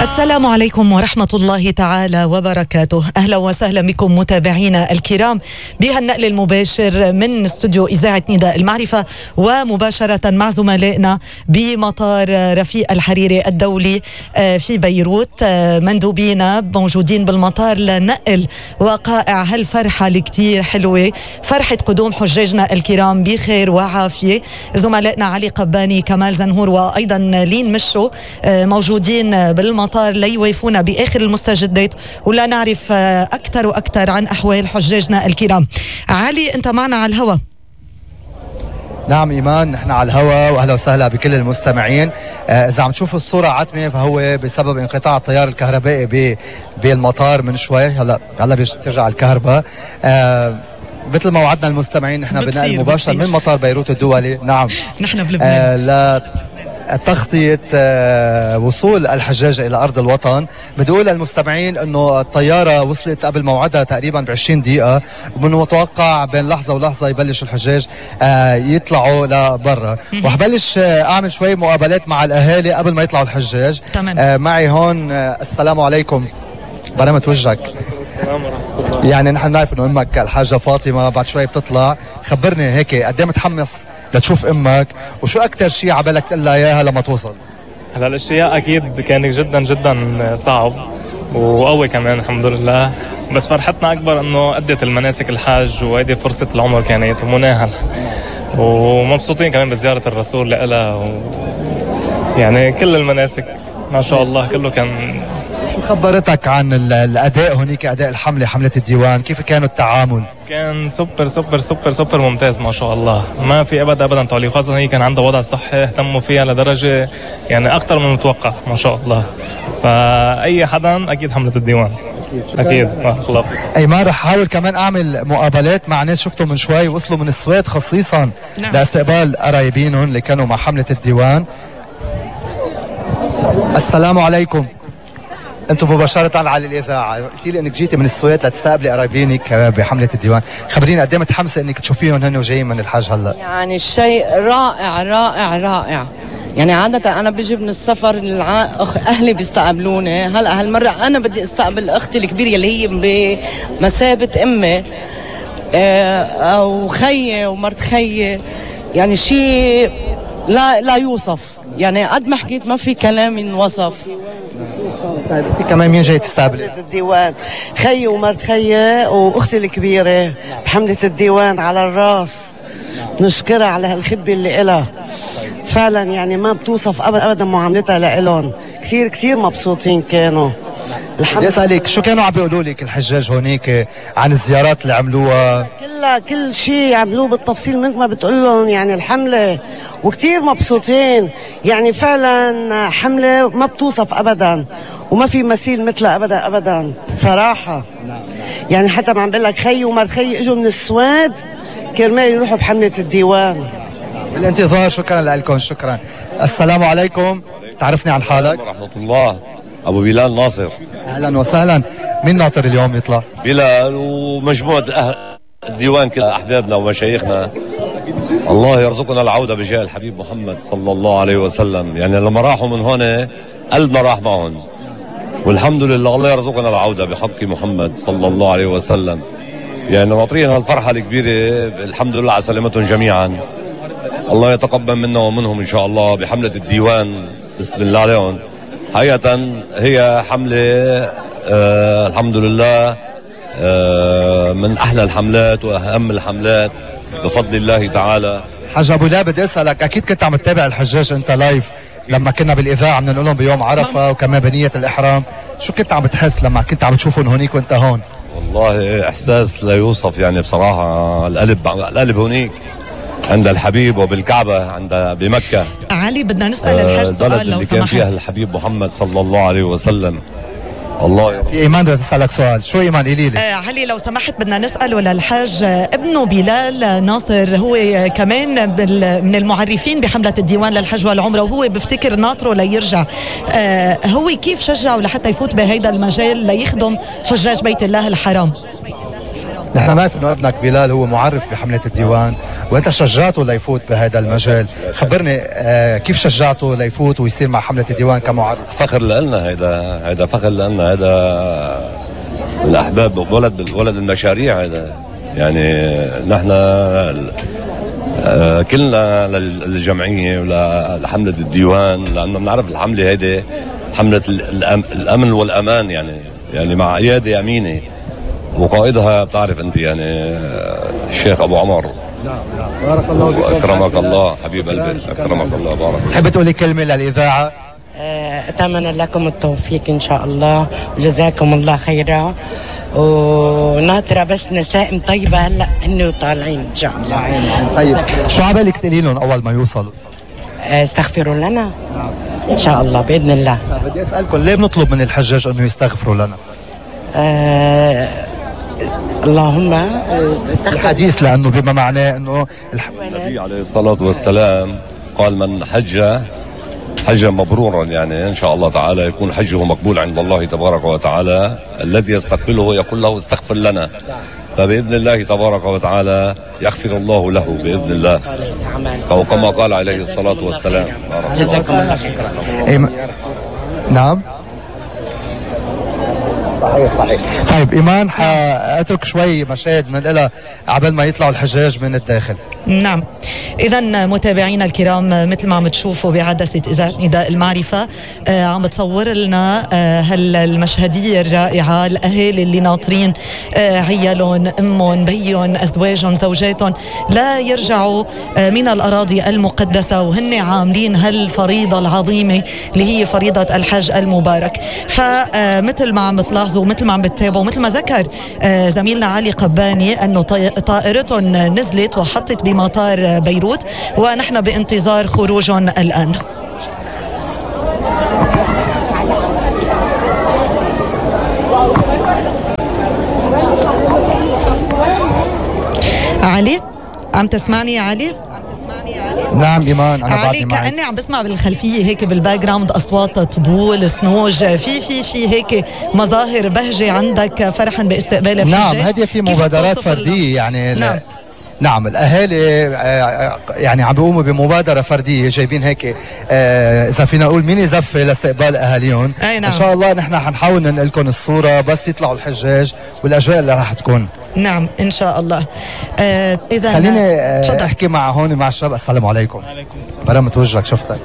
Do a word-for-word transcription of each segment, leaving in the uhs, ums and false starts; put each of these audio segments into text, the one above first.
السلام عليكم ورحمة الله تعالى وبركاته. أهلا وسهلا بكم متابعينا الكرام بهالنقل المباشر من استوديو إذاعة نداء المعرفة، ومباشرة مع زملائنا بمطار رفيق الحريري الدولي في بيروت. مندوبينا موجودين بالمطار لنقل وقائع هالفرحة الكتير حلوة، فرحة قدوم حجاجنا الكرام بخير وعافية. زملائنا علي قباني، كمال زنهور، وأيضا لين مشو موجودين بالمطار ليوافونا بآخر المستجدات ولا نعرف أكثر وأكثر عن أحوال حجاجنا الكرام. علي، أنت معنا على الهواء. نعم إيمان، نحن على الهواء، وأهلا وسهلا بكل المستمعين. آه إذا عم تشوفوا الصورة عتمة فهو بسبب انقطاع التيار الكهربائي بالمطار من شوي. هلا هلا بترجع الكهرباء. آه مثل ما وعدنا المستمعين نحن بنقل مباشر من مطار بيروت الدولي. نعم نحن بلبنان آه لا تغطية وصول الحجاج إلى أرض الوطن. بدي أقول للمستمعين أنه الطيارة وصلت قبل موعدها تقريبا بعشرين دقيقة، ومن المتوقع بين لحظة ولحظة يبلش الحجاج يطلعوا لبرا. وحبلش أعمل شوي مقابلات مع الأهالي قبل ما يطلعوا الحجاج. تمام. معي هون. السلام عليكم، برمت وجهك. السلام ورحمة الله. يعني نحن نعرف أنه أمك الحاجة فاطمة بعد شوي بتطلع، خبرني هيك قد ايه متحمس لتشوف امك، وشو اكثر شيء عبالك تقول لها اياها لما توصل؟ هلا الاشتياق اكيد كان جدا جدا صعب وقوي كمان الحمد لله، بس فرحتنا اكبر انه ادت المناسك الحاج، وهيدي فرصه العمر كانت ومناهل، ومبسوطين كمان بزياره الرسول لها و... يعني كل المناسك ما شاء الله كله كان. شو خبرتك عن الاداء هونيك، اداء الحمله، حمله الديوان؟ كيف كانوا التعامل؟ كان سوبر سوبر سوبر سوبر ممتاز ما شاء الله، ما في ابدا ابدا تعليق، خاصه هي كان عندها وضع صحي اهتموا فيها لدرجه يعني اكثر من المتوقع ما شاء الله. فاي حدا اكيد حمله الديوان اكيد ما خلص. ايمان، رح احاول كمان اعمل مقابلات مع ناس شفتهم من شوي وصلوا من السويد خصيصا نعم. لاستقبال قرايبينهم اللي كانوا مع حمله الديوان. السلام عليكم، انتم مباشرة على الإذاعة. قلتي لي انك جيتي من السويد لتستقبلي قرايبينك بحملة الديوان، خبريني قد ايه متحمسة انك تشوفيهم هن وجايين من الحج هلا؟ يعني الشيء رائع رائع رائع. يعني عادة أنا بجي من السفر الع... أخ... أهلي بيستقبلوني، هلا هالمرة أنا بدي استقبل أختي الكبيرة اللي هي بمثابة أمي أه... وخيي ومرت خيي، يعني شيء لا لا يوصف. يعني قد ما حكيت ما في كلام ينوصف. طيب انت كمان مين جاي تستقبلي؟ الديوان، خيي ومرت خيي واختي الكبيره بحمله الديوان على الراس. نشكرها على هالخدمه اللي إلها فعلا، يعني ما بتوصف ابدا ابدا معاملتها لإلهم. كثير كثير مبسوطين كانوا. بدي اسالك شو كانوا عم بيقولوا لك الحجاج هونيك عن الزيارات اللي عملوها؟ كلها كل شيء عملوه بالتفصيل مثل ما بتقول لهم يعني الحمله، وكثير مبسوطين. يعني فعلا حمله ما بتوصف ابدا، وما في مثيل مثلها ابدا ابدا صراحه. يعني حتى ما عم بقول لك خيي ومرت خيي اجوا من السويد كرمال يروحوا بحمله الديوان. بالانتظار. شكرا لكم، شكرا. السلام عليكم، تعرفني عن حالك؟ ورحمة الله. أبو بلال ناصر. أهلا وسهلا. مين ناطر اليوم يطلع؟ بلال ومجموعة أهل الديوان كل أحبابنا ومشايخنا. الله يرزقنا العودة بجاه الحبيب محمد صلى الله عليه وسلم. يعني لما راحوا من هون قلبنا راح معهم، والحمد لله الله يرزقنا العودة بحق محمد صلى الله عليه وسلم. يعني ناطرين هالفرحة الكبيرة، الحمد لله على سلامتهم جميعا. الله يتقبل منا ومنهم إن شاء الله بحملة الديوان. بسم الله عليهم. حقيقة هي حملة آه الحمد لله آه من أحلى الحملات وأهم الحملات بفضل الله تعالى. حاج أبو لا، بدي أسألك، أكيد كنت عم تتابع الحجاج أنت لايف لما كنا بالإذاعة عم نقول لهم بيوم عرفة وكمان بنية الإحرام، شو كنت عم بتحس لما كنت عم تشوفهم هونيك وأنت هون؟ والله إحساس لا يوصف. يعني بصراحة القلب القلب هونيك عند الحبيب وبالكعبة عند بمكة. علي، بدنا نسأل الحاج سؤال لو اللي سمحت. كان فيها الحبيب محمد صلى الله عليه وسلم. الله. في إيمان بدها تسألك سؤال. شو إيمان؟ قولي لي. آه علي لو سمحت بدنا نسأله للحاج ابنه بلال ناصر، هو كمان من المعرفين بحملة الديوان للحج والعمرة، وهو بفتكر ناطره ليرجع. آه هو كيف شجعه لحتى يفوت بهيدا المجال ليخدم حجاج بيت الله الحرام؟ نحن نعرف انه ابنك بلال هو معرف بحملة الديوان وانت شجعته ليفوت بهذا المجال، خبرني آه كيف شجعته ليفوت ويصير مع حملة الديوان كمعرف؟ فخر لنا، هيدا هيدا فخر لنا، هيدا من احباب ولد ولد المشاريع هيدا. يعني نحن آه كلنا للجمعيه ولحمله الديوان، لانه بنعرف الحمله هيدي حمله الامن والامان، يعني يعني مع عياده امينه وقائدها بتعرف انت يعني الشيخ ابو عمر. نعم نعم بارك الله فيك. اكرمك الله حبيب قلبي، اكرمك الله. بارك. تحب تقولي كلمه للاذاعه؟ أتمنى لكم التوفيق إن شاء الله وجزاكم الله خيرا، وناطرة بس نسائم طيبة هلا هن طالعين إن شاء الله. طيب شو عبالك تقولي لهم أول ما يوصلوا؟ استغفروا لنا إن شاء الله بإذن الله. بدي أسألكم ليه بنطلب من الحجاج إنه يستغفروا لنا؟ آه اللهم الحديث لأنه بما معناه إنه النبي عليه الصلاة والسلام قال من حج حجا مبرورا، يعني ان شاء الله تعالى يكون حجه مقبول عند الله تبارك وتعالى. الذي يستقبله يقول له استغفر لنا، فباذن الله تبارك وتعالى يغفر الله له باذن الله، او كما قال عليه الصلاه والسلام. جزاكم الله خيرا. نعم صحيح صحيح. طيب ايمان حاترك شوي مشاهد ننقلها عبال ما يطلعوا الحجاج من الداخل. نعم، إذا متابعينا الكرام مثل ما عم تشوفوا بعدسة إذاعة نداء المعرفة آه عم تصور لنا آه هالمشهدية الرائعة، الأهالي اللي ناطرين آه عيالهم، أمهم، بيهم، أزواجهم، زوجاتهم لا يرجعوا آه من الأراضي المقدسة، وهن عاملين هالفريضة العظيمة اللي هي فريضة الحج المبارك. فمثل ما عم تلاحظوا ومثل ما عم بتتابعوا، مثل ما ذكر آه زميلنا علي قباني أنه طائرتهم نزلت وحطت بمطار بيروت ونحن بانتظار خروجهم الآن. علي عم تسمعني يا علي؟ نعم ايمان انا علي كأني عم بسمع بالخلفيه هيك بالباك جراوند اصوات طبول، سنوج، في في شيء هيك مظاهر بهجه عندك فرحا باستقبال الحجاج. نعم هذه في مبادرات فرديه يعني. نعم نعم الاهالي يعني عم بيقوموا بمبادره فرديه، جايبين هيك اذا فينا نقول ميني زفه لاستقبال اهاليهم. نعم. ان شاء الله نحن حنحاول ننقل لكم الصوره بس يطلعوا الحجاج والاجواء اللي راح تكون. نعم ان شاء الله. آه اذا خليني آه احكي مع هون مع الشباب. السلام عليكم. وعليكم السلام. برمت وجهك شفتك.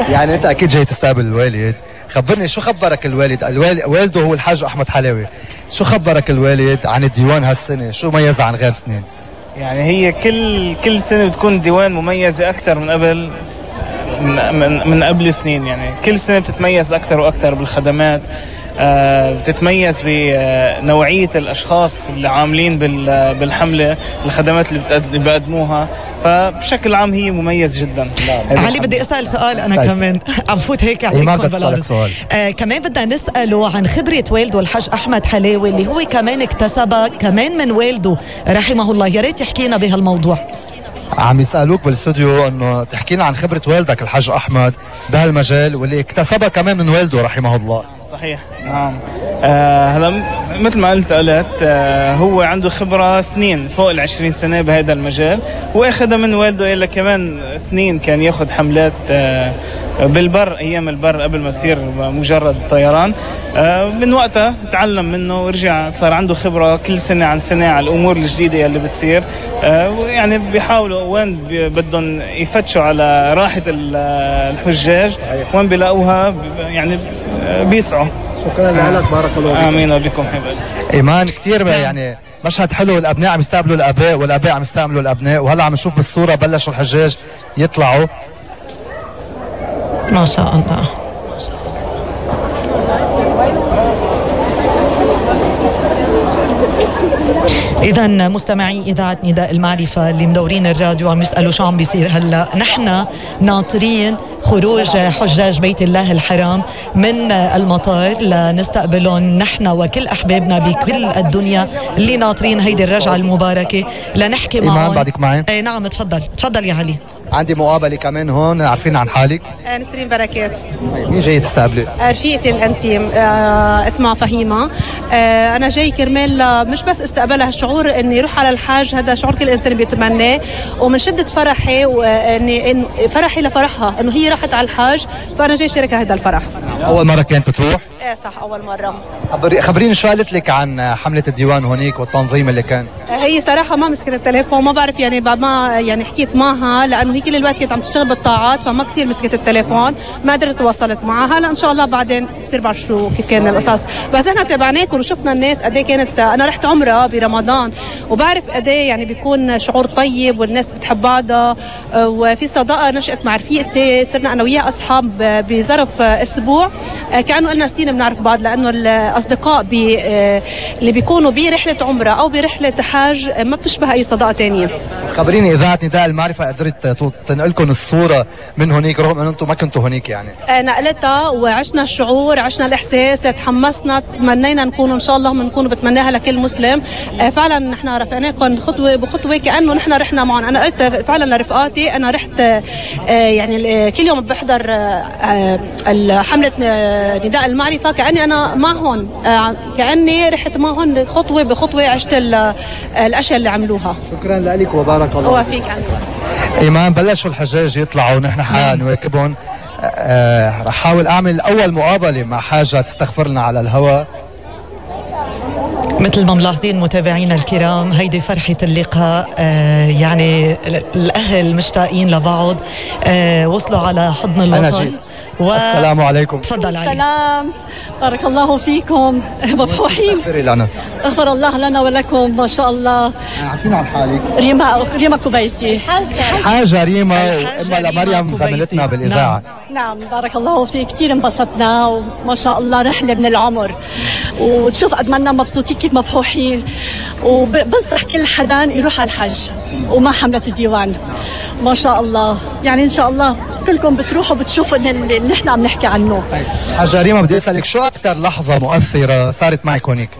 يعني انت اكيد جاي تستقبل الوالد، خبرني شو خبرك الوالد؟ الوالد والده هو الحاج احمد حلاوي، شو خبرك الوالد عن الديوان هالسنه؟ شو ميزها عن غير سنين؟ يعني هي كل كل سنه بتكون ديوان مميزه اكثر من قبل من, من من قبل سنين، يعني كل سنه بتتميز اكثر واكثر بالخدمات، آه بتتميز بنوعيه الاشخاص اللي عاملين بالحمله، الخدمات اللي بيقدموها، فبشكل عام هي مميز جدا. علي بدي اسال سؤال انا طيب. كمان عم فوت هيك عليكم بلاد آه كمان بدنا نساله عن خبره والده الحاج احمد حلاوي اللي هو كمان اكتسبها كمان من والده رحمه الله، يا ريت يحكينا بهالموضوع. عم يسألوك بالاستوديو انه تحكينا عن خبرة والدك الحاج احمد بهالمجال واللي اكتسبها كمان من والده رحمه الله. صحيح نعم. آه هلا مثل ما قلت قلت آه هو عنده خبرة سنين فوق العشرين سنة بهذا المجال، واخذها من والده إلا كمان سنين كان ياخذ حملات آه بالبر ايام البر قبل ما يصير مجرد طيران. آه من وقتها تعلم منه ورجع صار عنده خبرة كل سنة عن سنة على الامور الجديدة اللي بتصير. آه يعني بيحاولوا وين بدهم يفتشوا على راحة الحجاج وين بيلاقوها يعني بيسعوا. شكرا لك بارك الله فيك. امين وبكم حبايبي. ايمان كثير يعني مشهد حلو، الابناء عم يستقبلوا الاباء والاباء عم يستقبلوا الابناء، وهلا عم نشوف بالصوره بلشوا الحجاج يطلعوا ما شاء الله. إذا مستمعي إذاعة نداء المعرفة اللي مدورين الراديو عم يسألوا شو عم بيصير هلا، نحن ناطرين خروج حجاج بيت الله الحرام من المطار لنستقبلهم نحن وكل أحبابنا بكل الدنيا اللي ناطرين هيدي الرجعة المباركة لنحكي معهم. إيمان بعدك معي؟ اي نعم تفضل تفضل يا علي. عندي مقابله كمان هون، عارفين عن حالك؟ نسرين بركات. مين جاي تستقبلي؟ رفيقتي الانتيم اسمها فهيمه. انا جاي كرمال مش بس استقبلها، الشعور اني اروح على الحاج هذا شعور كل انسان بيتمناه، ومن شده فرحي واني فرحي لفرحها انه هي راحت على الحاج، فانا جاي شاركها هذا الفرح. اول مره كانت بتروح؟ ايه صح اول مره. خبريني شو قالت لك عن حمله الديوان هونيك والتنظيم اللي كان؟ هي صراحه ما مسكت التليفون، ما بعرف يعني بعد ما يعني حكيت معها لانه هي كل الوقت كانت عم تشتغل بالطاعات، فما كثير مسكت التليفون، ما قدرت تواصلت معها. هلا ان شاء الله بعدين بصير بعرف شو كيف كان القصص. بس احنا تابعناكم وشفنا الناس قد ايه كانت. انا رحت عمره برمضان وبعرف قد ايه يعني بيكون شعور طيب والناس بتحب بعضها، وفي صداقه نشأت مع رفيقتي، صرنا انا وياها اصحاب بظرف اسبوع، كانه لنا سنين بنعرف بعض، لانه الاصدقاء بي اللي بيكونوا برحله عمره او برحله حاج ما بتشبه اي صداقه ثانيه. خبريني اذاعه نداء المعرفه قدرت تنقلكم الصوره من هونيك رغم انه انتم ما كنتوا هونيك يعني؟ نقلتها وعشنا الشعور، عشنا الاحساس، تحمسنا، تمنينا نكون ان شاء الله بنكون بتمناها لكل مسلم. فعلا نحن رافقناكم خطوه بخطوه كانه نحن رحنا معهم. انا قلت فعلا لرفقاتي انا رحت يعني كل يوم بحضر حمله نداء المعرفه كاني انا معهم، كاني رحت معهم خطوه بخطوه، عشت الاشياء اللي عملوها. شكرا لك وبارك الله. وفيك ايمان. بلشوا الحجاج يطلعوا ونحن حنواكبهم. أه رح احاول اعمل اول مقابله مع حاجه تستغفر لنا على الهواء. مثل ما ملاحظين متابعينا الكرام، هيدي فرحة اللقاء. آه يعني الأهل مشتاقين لبعض، آه وصلوا على حضن الوطن. و... السلام عليكم. تفضل علي. السلام، بارك الله فيكم، مفروحين. لنا. اغفر الله لنا ولكم، ما شاء الله. عارفين عن حالك؟ ريما ريما كوبيسي. حاجة ريما وأمها لمريم زميلتنا بالإذاعة. نعم. نعم بارك الله فيك، كثير انبسطنا وما شاء الله رحلة من العمر، وتشوف قد ما مبسوطين كيف مفروحين، وبنصح كل حدا يروح على الحج وما حملة الديوان. ما شاء الله، يعني إن شاء الله كلكم بتروحوا بتشوفوا اللي نحن عم نحكي عنه. طيب حاجة ريما بدي أسألك شو أكثر لحظة مؤثرة صارت معك هونيك؟